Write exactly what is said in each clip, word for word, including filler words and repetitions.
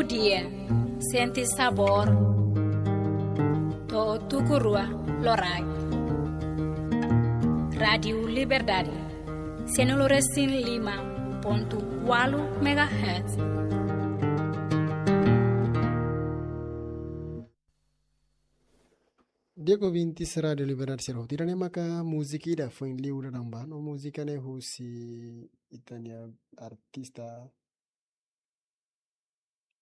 Dia, sente sabór. To'o tuku rua loraik. Rádiu Liberdade, sianulu resin lima pontu ualu megahertz. Di'ak ouvintes Rádiu Liberdade sira hotu, ida-ne'e maka múzika ida foin liu dadaun ba, no múzika ne'e husi ita-nia artista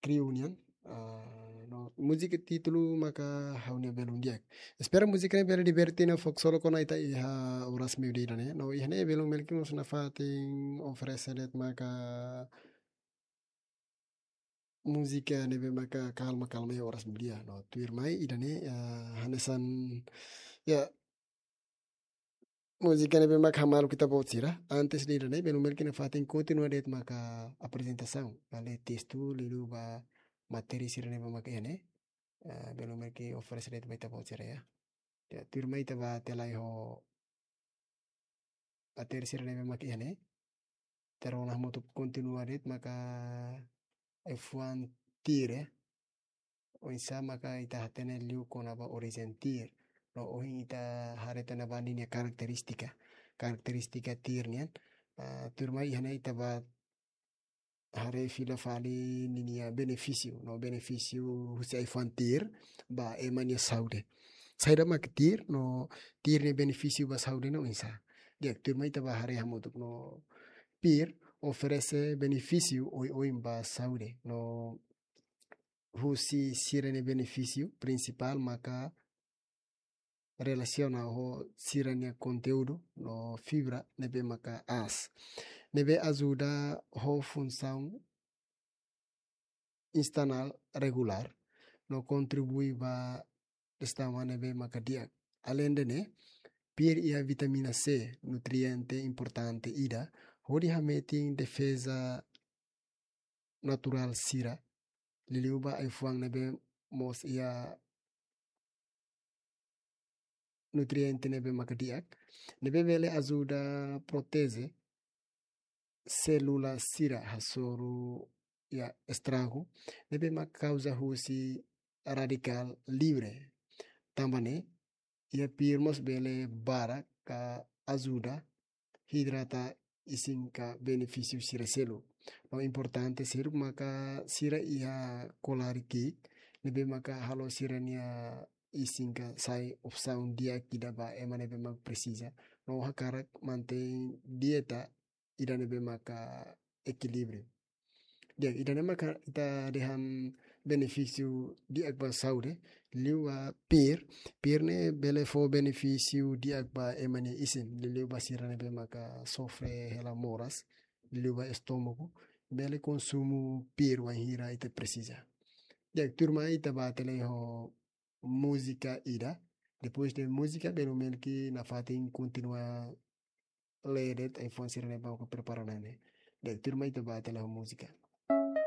Kriu nian. Ah, no múzika títulu maka Ha'u-nia Belun Di'ak. Espera múzika ne'e bele diverte no fó ksolok ona ita iha oras meiudia ida-ne'e. No iha ne'e belun Melki mós nafatin oferese de'it maka múzika ne'ebé maka kalma-kalma iha oras meiudia. No tuirmai ida-ne'e, ah, hanesan, ya, múzika ne'ebé maka hamalu ita-boot sira. Antes de ida-ne'e, belun Melki nafatin kontinua de'it maka aprezentasaun. Ba lee testu, liuliu ba matéria sira ne'ebé maka iha ne'e. Ah, belun Melki oferese de'it ba ita-boot sira, ya. Ya, tuirmai ita bá tela iha matéria sira ne'ebé maka iha ne'e. Ita rona hamutuk kontinua de'it maka ai-fuan Tir, ya. Oinsá maka ita hatene liu kona-ba orijen Tir. No ohin ita haree tan ba ninia karakterístika. Karakterístika Tir nian. Ah, tuirmai iha ne'e ita bá haree fila fali ninia benefísiu. No benefísiu husi ai-fuan Tir ba ema nia saúde. Saida mak Tir, no Tir nia benefísiu ba saúde ne'e oinsá. Di'ak, tuirmai ita bá haree hamutuk, no Pir oferese benefísiu oioin ba saúde. No husi sira-nia benefísiu prinsipál maka relasiona ho sira-nia konteúdu no fibra ne'ebé maka aas. Ne'ebé ajuda ho funsaun intestinál regulár, no kontribui ba digestaun ne'ebé maka di'ak. Aleinde ne'e, Pir iha vitamina C, nutriente importante ida, hodi hametin defeza naturál sira, liuliu ba ai-fuan ne'ebé mós iha nutriente ne'ebé maka di'ak, ne'ebé bele ajuda proteje sélula sira hasoru iha estragu ne'ebé maka kauza husi radikál livre. Tanba ne'e, iha Pir mós bele barak ajuda hidrata isin ka benefísiu sira seluk. No importante seluk maka sira iha kolaru ki'ik, ne'ebé maka halo sira-nia isin ka sai opsaun di'ak ida ba ema ne'ebé maka presiza. No hakarak mantein dieta ida ne'ebé maka ekilíbriu. Di'ak, ida-ne'e maka ita dehan benefísiu di'ak ba saúde, liu ba Pir, Pir ne'e bele fó benefísiu di'ak ba ema nia isin, liuliu ba sira ne'ebé maka sofre hela moras, liuliu ba estómagu, bele konsumu Pir wainhira ita presiza. Di'ak, tuirmai ita bá tela iha múzika ida. Depois de múzika, belun Melki nafatin kontinua lee de'it ai-fuan sira ne'ebé maka prepara ona ne'e. Di'ak, tuirmai ita bá tela iha múzika.